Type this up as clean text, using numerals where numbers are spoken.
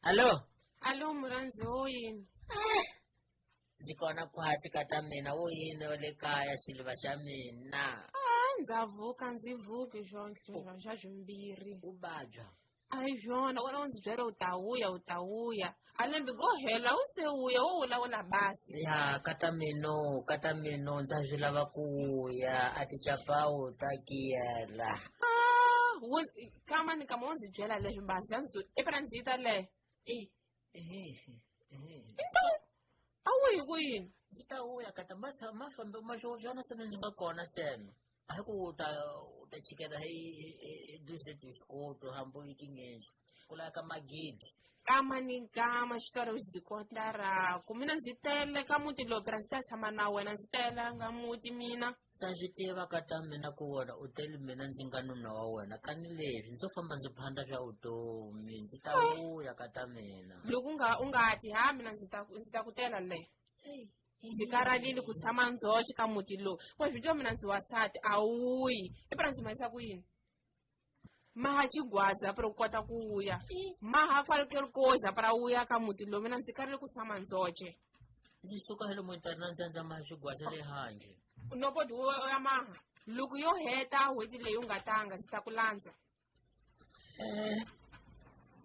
Hallo. Alo, murhandzi, wo yini? Ndzi kona khwatsi ka ta mina, wo yini wa le kaya, xiluva xa mina? A ndza vuka, ndzi vuki swona xa swimbirhi. U vabya? A hi swona, wena u ndzi byela u ta vuya, u ta vuya. A lembe go hela u se vuya, wo vulavula basi. Ya, ka ta mino, ka ta mino, ndza swi lava ku vuya, a tichapawu ta kiyela. Ah, kama ni kama u ndzi byela leswi basi, ya ndzi i phela ndzi ta le. A wu hi ku yini? Ndzi ta vuya ka ta ma tshama ma fambe ma swona se ndzi nga kona seno. A hi ku u ta chikela hi duze tisikoto hambi i tingendzu ku lava ka magidi. Kama ni kama xitori xi kota raku mina ndzi tele ka muti lowu phela ndzi ta tshama na wena, ndzi telanga muti mina. Ndza swi tiva ka ta mina ku wena u tele mina ndzi nga nuna wa wena, kani leswi ndzo famba ndzi phanda swa vutomi, ndzi ta vuya ka ta mina. Loko u nga ti ha mina ndzi ta ku tela le. Ndzi karhalile ku tshama ndzoxe ka muti lowu. Wa swi tiva mina ndzi wansati, a wuyi. I phela ndzi mahisa ku yini? Maha xigwadza para u kota ku vuya. Maha falkelkoza para wuya ka muti lowu, mina ndzi karhele ku tshama ndzoxe. Ndzi suka hi lomu ntarhi na ntsandza maha xigwadza le handle. Nopoti wo ya maha. Loko yo heta n'hweti leyi u nga tanga, ndzi ta ku landza.